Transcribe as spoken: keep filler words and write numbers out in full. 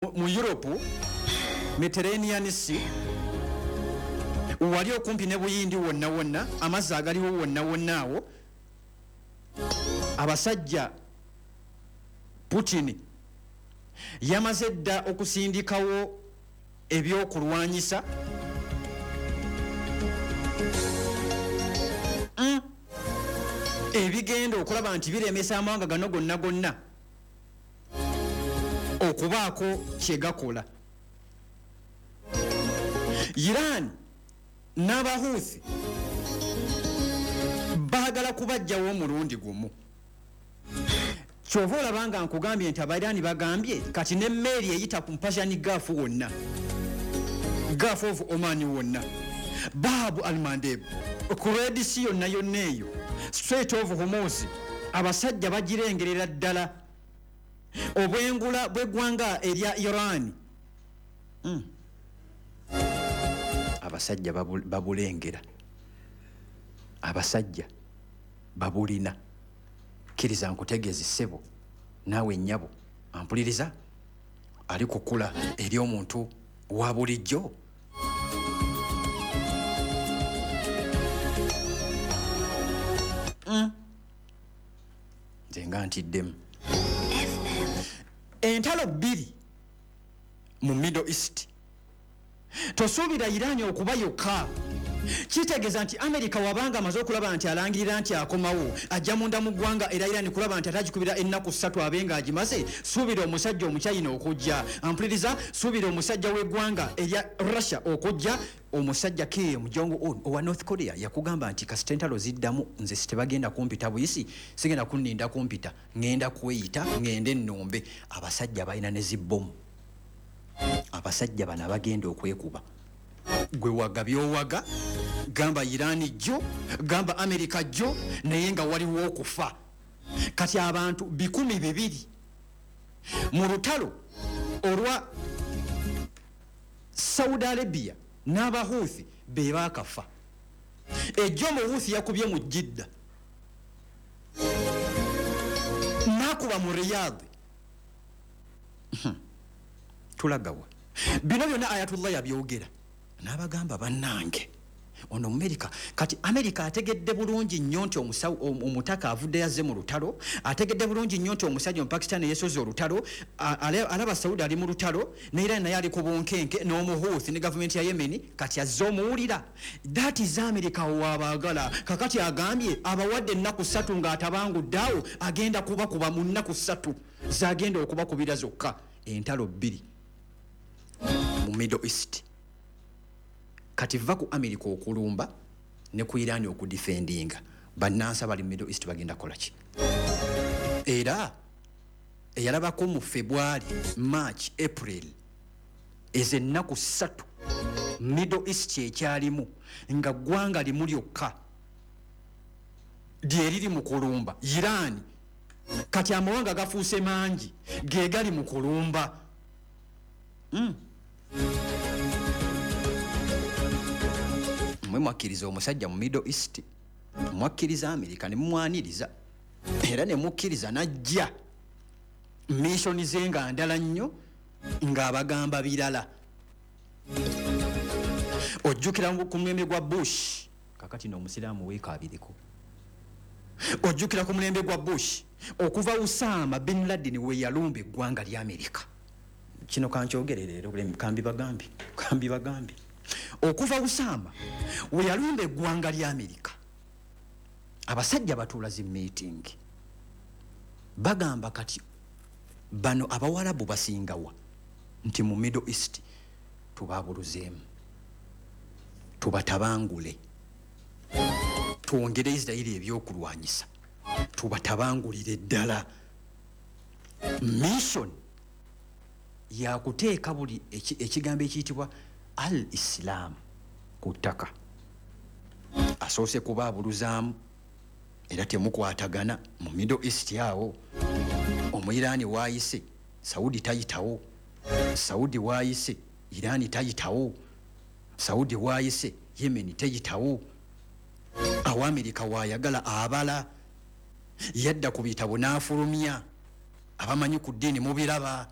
Mu Europe, Mediterranean Sea, wali okumpi ne Buyindi wonna wonna, amazzi agaliwo wonna wonna awo, abasajja Putin yamaze dda okusindikawo ebyokulwanyisa mm. ebigenda okulaba nti biremesa amawanga gano gonna gonna okubaako kyegakola. Iran n'Abahuthi baagala kubajjawo omulundi gumu. Kyova olaba nga nkugambye nti Abairani bagambye kati n'emmeeri eyita ku Persian Gulf wonna, Gulf of Oman wonna, Bab al-Mandeb, ku Red Sea yonna yonna eyo, Strait of Hormuz, abasajja bagirengerera ddala obwengula bw'eggwanga erya Iran. Mm. Abasajja babulengera, abasajja babulina. Kkiriza nkutegeeze ssebo, naawe nnyabo ampuliriza, ali kukula eri omuntu wa bulijjo. Mm. Nze nga ntiddemu. Entalo bbiri mu Middle East. Tosuubira Iran okuba yokka. Kitegeeza nti Amerika wabanga amaze okulaba nti alangirira nti akomawo, ajja munda mu ggwanga era Iran kulaba nti atagikubira ennaku ssatu abe nga agimaze. Suubira omusajja Omuchina okujja, ampuliriza, suubira omusajja w'eggwanga erya Russia okujja. Omusajja Kim Jong Un owa North Korea yakugamba nti kasita entalo ziddamu nze sitebagenda kumpita buyisi, sigenda kunninda kumpita, ŋŋenda kweyita, ŋŋende ennumbe. Abasajja balina ne zibbomu, abasajja bano abagenda okwekuba. Gwe waga by'owaga, gamba Iran jjo, gamba Amerika jjo, naye nga waliwo okufa. Kati abantu bikumi bibiri mu lutalo olwa Saudi Arabia n'Abahuthi be baakafa. Ejjo Omuhuthi yakubye mu Jidda, n'akuba mu Riyadh. Tulagawa bino byonna Ayatollah yabyogera n'abagamba bannange ono Amerika. Kati Amerika ategedde bulungi nnyo nti omutaka avudde yazze mu lutalo, ategedde bulungi nnyo nti omusajja Omupakistan yesoze olutalo, alaba Saudi ali mu lutalo, ne Iran naye ali ku bunkenke n'Omuhuthi ne gavumenti ya Yemen. Kati azze omuwulira. That is America wabaagala. Kakati agambye abawadde ennaku ssatu ng'atabangudde awo, agenda kubakuba mu nnaku ssatu zagenda okubakubira zokka. Entalo bbiri mu Middle East. Kati va ku Amerika okulumba ne ku Iran okudifendinga, bannansi abali mu Middle East bagenda kukola ki? Era eyalabako mu February, March, April, ezo ennaku ssatu Middle East ekyalimu nga ggwanga limu lyokka lyeriri mu kulumba Iran. Kati amawanga gafuuse mangi ge gali mu kulumba. Mm. Mwe mwakkiriza omusajja mu Middle East, mwakkiriza Amerika ne mumwaniriza, era ne mukkiriza n'ajja missioni ze nga ndala nnyo ng'abagamba birala. Ojjukira ku mulembe gwa Bush, kakati n'omusiraamu weekaabireko. Ojjukira ku mulembe gwa Bush okuva Osama bin Laden we yalumba eggwanga lya Amerika. Kino kankyogere leero, kambi bagambi, kambi bagambi. Okuva Osama we yalumba eggwanga lya Amerika, abasajja batuula zi meeting bagamba kati bano Abawarabu basingawa nti mu Middle East tubabuluzeemu, tubatabangule, twongere Israeli ebyokulwanyisa, tubatabangulire ddala. Mission yakuteeka buli ekigambo ekiyitibwa al-Islam ku ttaka. Asoose kubaabuluzaamu era temukwatagana mu Middle East awo. Omuyiraani waayise Saudi tayitawo, Saudi waayise Irani tayitawo, Saudi waayise Yemen teyitawo. Awo Amerika waayagala abala yadda ku bitabo n'afulumya abamanyi ku ddiini mubiraba.